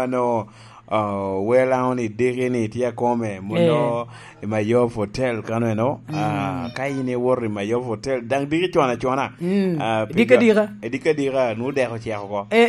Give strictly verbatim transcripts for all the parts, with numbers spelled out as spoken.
Mano, ah, wela oni diki ni tye akome, muno Eh. i Mayof Hotel kano eno. Ah, Mm. ka in iwoto i Mayof Hotel, dang diki cona cona. Mm. Ah, Dika piga-, dika. eh, dika dika, nu dek ocek oko. Eh,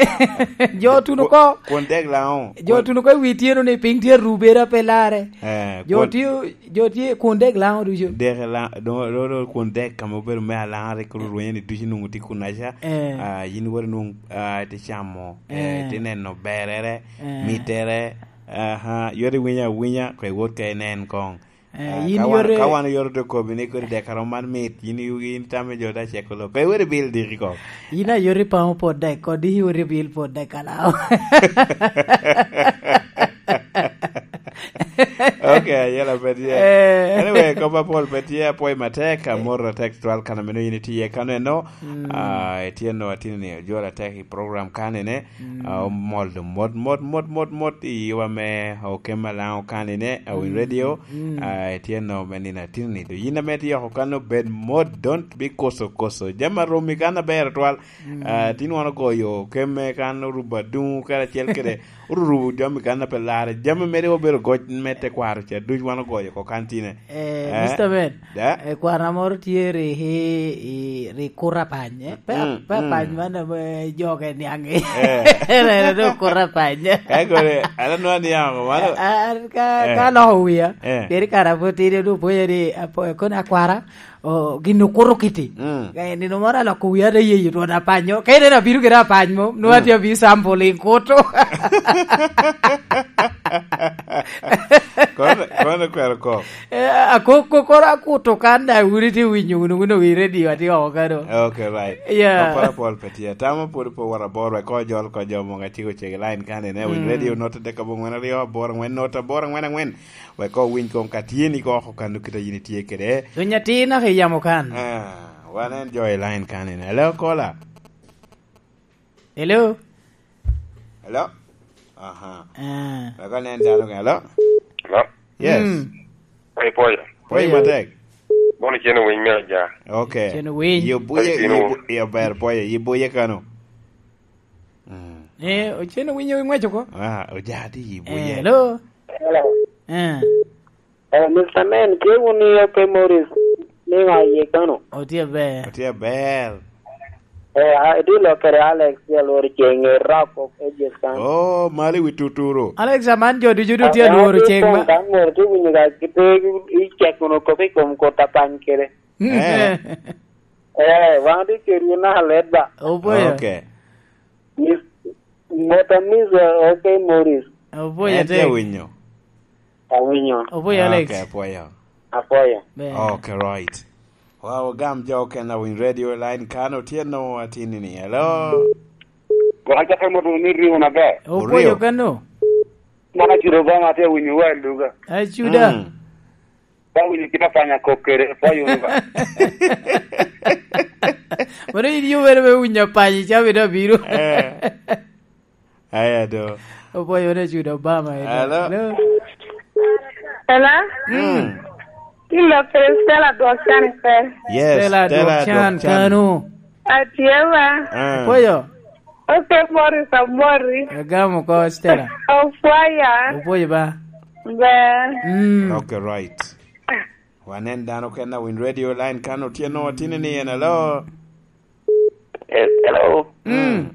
jo tuno Ku-, ko. kun dek Lango. Jo Kun tuno ko i wi tyeno ni piny tye rubere pe lare. Eh, Jo kun tye, jo tye kun dek Lango ducu. Dek Lango, do, do, do, kun dek ka ma obedo me Alanga rik orwenyo ni ducu nwoŋo tye kun aca. Eh. Ah, yin wari nwoŋo, ah, tye camo, eh, Eh. tye neno berere, Eh. mittere, aha, yot iwinyo awinya, kwe wot ka inen koŋ. Eh, Ah, yin ka wan, yore ka wan yore to kobi ni kodi dek arom man mit, yin i-, in tame jo da ceko lo. Kwe wot ibil diki koŋ. Yin a yore pamo pot dek, kodi yore bil pot dek alao. Ok, ayela pe tye. Eh. Anyway, kop apol pe tye, apwoyo matek, amor atek twal kan ameno yin itye kano eno. Mm. Ah, itye no atini ni, ojwol atek i program kan ene. Mm. Ah, omol do mot, mot, mot, mot, mot i wa me Okem Alango kan ene, Awiny Mm. Radio. Mm. Ah, itye no me nino atini ni. Yin ame tye oko kan obed mot, don't be koso koso. Jami aromi kan aber twal. Mm. Ah, tin wan ogoyo Okem me kan orubo aduŋu kede acel kede orurubo jami kan a pe larre. Jami mere obedo goc me tekwaro ca duc wan ogoyo oko kan tine. Eh, Eh? Mister Ben, Da? eh, kwana moro tye ri, i, i, ri kura pany, eh? Pe, Mm, pe mm. pany man ame joge niaŋ i. Eh. Rere do kura pany. Ka kore, ala nwa niaŋ mano. Ah, ah, ka, Eh. ka loko wia, Eh. peri kara po tide do poye ni, apo-, kono akwara, o, gin okuto kiti. Mm. Eh, nino moro aloko wia ate yeyo twon apanyo. Ka ineno abino kede apany mo, nwa Mm. tye abi sample in kuto. Kono, kono kwero kok. Eh, a, ko, ko, koro akuto kan da, wun itye winyo, wun, wun owi radio, atye oko kano. Ok, right. Yeah. Apol, apol pe tye. Tamo pwod pe wot abor, wek ko jol ko jo mogo atye ocego i line kan, ine, winy Mm. radio, not adek abongwen aryo, abor angwen, not abor angwen angwen. Wek ko winy kong ka tye ni ko oko kan, kite yin itye kede. Winy atir naka i yamo kan. Ah, wan en jo i line kan, ine. Hello, caller. Hello? Hello? Aha. Ah. Wek anen dano ka. Hello? Hello? Yes. Mm. Hey, Poya. Poya Poya. matek. Bono cen owiny me aja. Okay. Cen owiny. Yo buye, Hey, yo Tino. bu-, yo ber Poya, yo buye kano. Mm. Eh, o cen owiny owiny ng'weco ko? Ah, oja ti yo buye. Eh, hello? Hello. Eh. Eh, Mister Man, tye wun i Ope Morris, niŋo aye kano? Otye aber. Otye aber. Eh, a, idilo kede Alex, ya lworo ceng, i Rock of Ages kan. Oh, mali wi tuturu. Alex, aman jo ducu du tye Ah, lworo tye ceng pong ma. Kan moro tye winyo ka kite i cek wunu kop i kom kut apany kede. Mm. Eh. Eh, wan tye kede wun naka let ba. Oboyo. Okay. Mis-, Mota Miss, eh, Ope Morris. Oboyo En tye tek. winyo. Awinyo. Oboyo Alex. Okay, apwoyo. Apwoyo. Ber. Okay, right. Wow, gam jo okene awiny radio line kan otyeno atini ni. Hello? Gwok acakka moto ni riwo na ber. Oboyo Oryo. kano. Mana ciro ba ma te winyo wa luga. Acuda. Mm. Ba winyo kita panya kok kere, pa yo ba. Mano in yo wero me winyo panya, icabe da biro. Eh. Aya do. Oboyo ne cudo Obama, eh. Hello? Hello? Hello? Mm. Ilo kede Stella Dwok Can pe? Yes, Stella Stella Dwok Can Dwok Can. Kano. Atye ba. Ah. Oboyo. Okay, Morris, Amori. Agamo ko, Stella. Ofwaya. Oboyo ba. Be. Mm. Okay, right. Wanen dano ken a winy radio line kan otyeno otini ni en, hello? Yes, hello. Mm.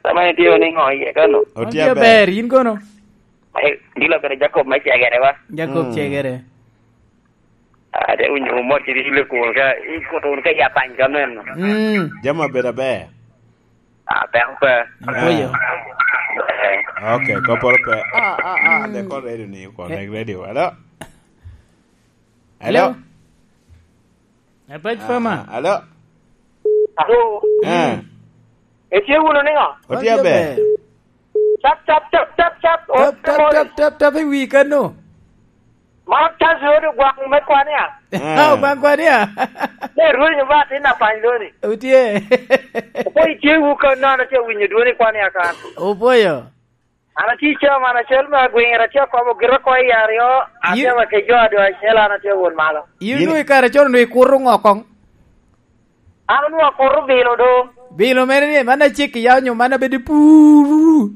Sama itye ni ŋo iye kano? Otye Otye aber. ber, in kono? Eh, dilo kede Jacob me Cegere ba? Jacob Mm. Cegere. Ah, te winyo mot kede ile kun ka, i kuto wun ka ya pany ka meno. Mm. Jami obedo aber. Ah, peko pe. Apoyo. Eh. Okay, koporo pe. Ah, ah, ah, Mm. de ko radio ni, ko Eh. ne radio. Hello? Hello? Hello? Abaj Fama. Ah, hello? Alo. Eh. Mm. Etye wunu niŋo? Otye aber. Cap, cap, cap, cap, cap. Tap, tap, tap, tap, tap, i wi kano. Man tazi odi gwaŋ me kwania. Eh. Ah, gwaŋ kwania. Ne rwenyo ba tin apany loni. Otye. Opo itye wu ka nono tye winyo dwoni kwania kan. Opoyo. An atye i caa man acel me agwiŋ, atye akobo gira oko i aryo, atye Yin- wa ke jo adu acel, an atye won malo. In Yin- onwoŋo i kare con onwoŋo ikuto ŋo koŋ? An onwoŋo akuto bilo do. Bilo mere ni, man acek iya onyo man abedo puru?